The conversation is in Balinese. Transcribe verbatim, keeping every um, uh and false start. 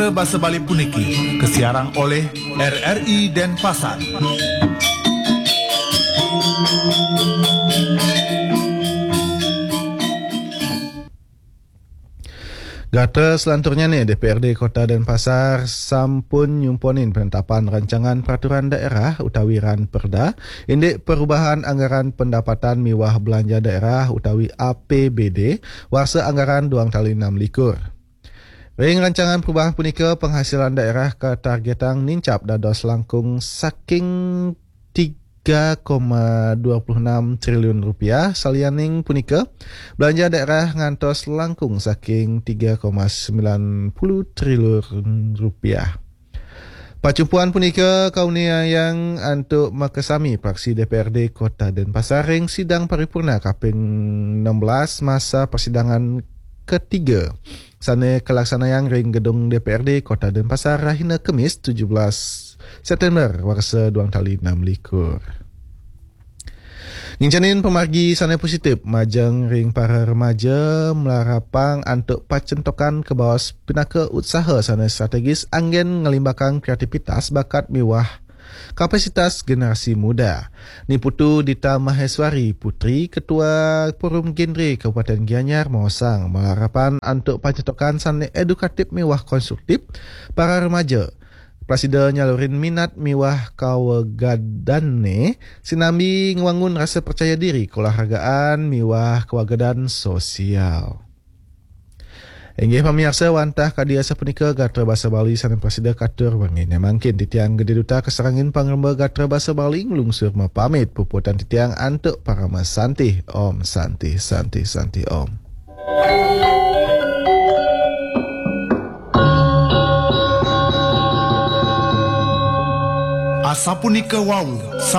Basa Bali puniki kasiarang oleh R R I Denpasar. Gatra selanturnya ni, D P R D Kota Denpasar sampun nyumponin penetapan rancangan peraturan daerah utawi ran perda, indik perubahan anggaran pendapatan miwah belanja daerah utawi A P B D, warsa anggaran duang tali enam likur. Ring rancangan perubahan punika, penghasilan daerah katargetang nincap dados langkung saking tiga koma dua puluh enam triliun rupiah, salianing punika, belanja daerah ngantos langkung saking tiga koma sembilan puluh triliun rupiah. Pacumpuan punika kauningayang antuk makasami praksi D P R D Kota Denpasar ring sidang paripurna kaping enam belas masa persidangan ketiga, sane kalaksanayang ring gedung D P R D Kota Denpasar rahina Kemis tujuh belas September warsa duang tali enam likur. Ngincenin pamargi sane positif majeng ring para remaja malarapang antuk pacentokan kabaos pinaka utsaha sane strategis anggen ngelimbakang kreativitas, bakat miwah kapasitas generasi muda. Ni Putu Dita Maheswari Putri, Ketua Forum Genre Kabupaten Gianyar, maosang malarapan antuk pacentokan sane edukatif miwah konstruktif para remaja. Prasida nyalurin minat miwah kawegadanne, sinambi ngwangun rasa percaya diri, keolahragaan miwah kewegadan sosial. Inggih pamiarsa, wantah kadi asapunika gatra basa Bali sane prasida katur wengine mangkin. Titiang Gede Duta kasarengin pangremba gatra basa Bali nglungsur mapamit. Puputang titiang antuk parama santih. Om Santih, Santih, Santih Om. Asapunika wau